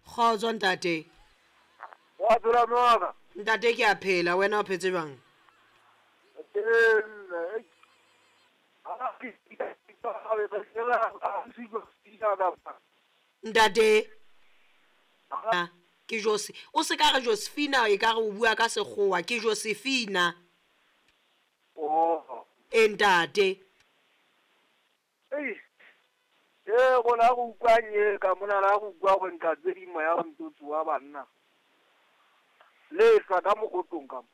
Kgotso ntate. Wa phela mme wa ka? Ntate ke a phela, wena o phetse jwang? Ntate ke Jose, o se ka re Josephina e ka re o bua ka sekgowa, ke Josephina. Oh. E ntate. Ei. Ee, gona go utlwa nye ka mona la go utlwa go nka tse di moya go ntse tsoa banna. Lehlwa ka mokotlong ka mo.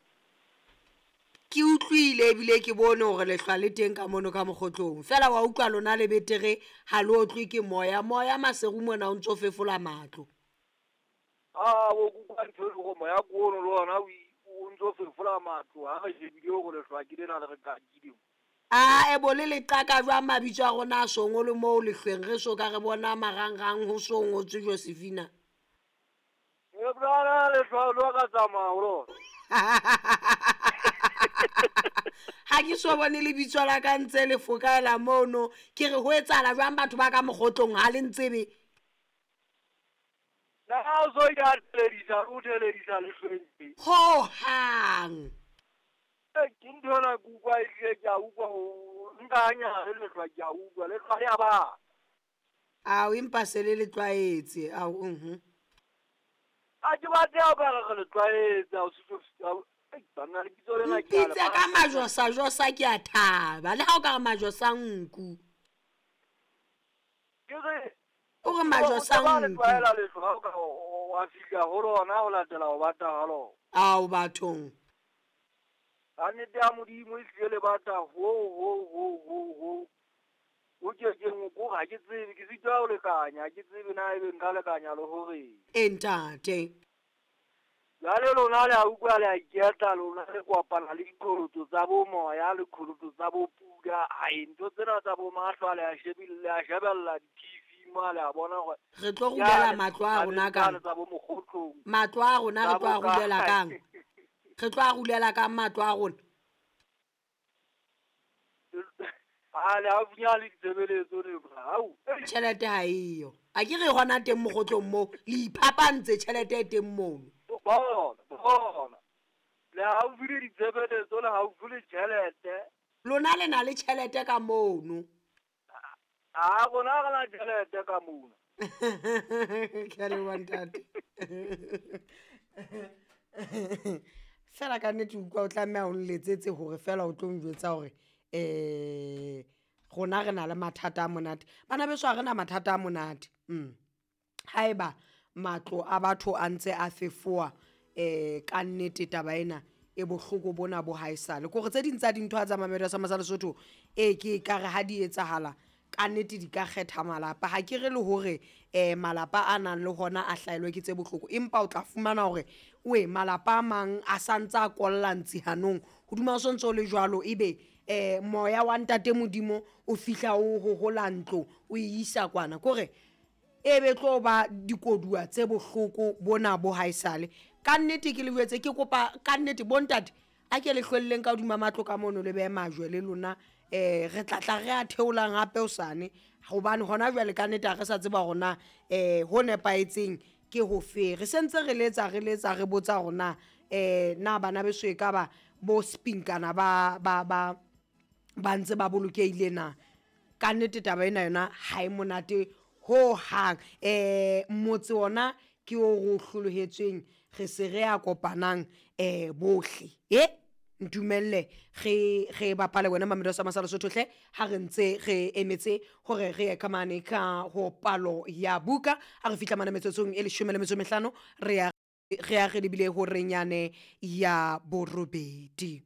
Ke utlwile ebile ke bone gore lehlwa le teng ka mono ka mogotlong. Fela wa utlwa lona le betere ha le otlwe ke moya. Moya maseru mona o ntso fefola matlo. A bo kuka ntho e go moya ko ono le ona o ntso fefola matlo ha re shebile gore lehlwa ke lena le re kakile. A e bo le leqaka jwang mabitso a rona a so ngolwe moo lehlweng re so ka re bona marangrang ho so ngotswe Josephina. E brana lehlwa lo ka tsamaya ho lona. Ha ke so bone lebitso la ka ntse le fokaela mono, ke re ho etsahala jwang batho ba ka mogotlong ha le ntsebe? Na o so ya teledisa o teledisa lehlweng. Ho hang. Ke ntho ena ke utlwa ehlile ke a utlwa nka hanyane lehlwa ke a utlwa lehlwa le a bata. Ao empa se le le tlwaetse ao mhm. A ke batle ha o ka re re le tlwaetse banna lebitso lena ke a le Mpitse ka majosajosa ke a thaba le ha o ka re majosa nku. Ke re O re majosa ba le nku. tlwaela lehlwa ha o ka wa fihla ho lona ho latela ho bata ha lona. Ao bathong. Ka nnete ya Modimo e hlile le bata ho ho ho ho ho. O ke ke ko ha ke tsebe ke sitwa ho lekanya ha ke tsebe na ebe nka lekanya le hore. E ntate. Jwale lona le a utlwa le a iketla lona le kopana le diqholotso tsa bo moya le qholotso tsa bo pula. Ai ntho tsena tsa bo mahlwa le a shebile le a shebella di-TV mo le a bona hore Re tlo rulela matlo a rona kang? tsa bo mokgotlong. Matlo a rona re tlo a rulela kang? Re tlo a rulela kang matlo a rona? A le haufinyana le ditshebeletso le bra. Au. Tjhelete ha eyo. A ke re hona teng mogotlong moo le iphapantse tjhelete e teng mono. Bona, bona. Le haufi le ditshebeletso le haufi le tjhelete. Lona le na le tjhelete ka mono. A rona re na tjhelete ka mona. Ke a leboha ntate. Fela ka nnete utlwa o tlameha o nletsetse hore fela o tlo njwetsa hore rona re na le mathata a monate. Bana beso ha rena mathata a monate. Haeba matlo a batho a ntse a fefowa ka nnete taba ena e bohloko bona bo haesale. Kore tse ding tsa dintho ha tsa Mamelodi sa Masa Lesotho e ke ekare ha di etsahala ka nnete di ka kgetha malapa. Ha ke re le hore malapa a nang le hona a hlahelwe ke tse bohloko, empa o tla fumana hore we malapa a mang a santse a kolla ntsi hanong. Hodima ho sontso le jwalo ebe moya wa ntate Modimo o fihla o hohola ntlo o e isa kwana. Kore e be tlo ba dikodua tse bohloko bona bo haesale. Ka nnete ke le jwetse ke kopa ka nnete bontate a ke le hlwelleng ka hodima matlo ka mono le behe majwe le lona re tla tla re a theolang hape hosane hobane hona jwale ka nnete ha re sa tseba hore na ho nepahetseng ke hofe. Re sentse re letsa re letsa re botsa hore na na bana beso e ka ba bo spinkana ba ba ba ba ntse ba bolokehile na. Ka nnete taba ena yona ha e monate ho hang. Motse ona ke o re o hlolohetsweng re se re a kopanang bohle. Ntumelle re re bapale wena Mamelodi sa Masa Lesotho hle ha re ntse re emetse hore re ye ka mane ka ho palo ya buka. Ha re fihla mane metsotsong e 15 re ya re ya re lebile ho renyane ya borobedi.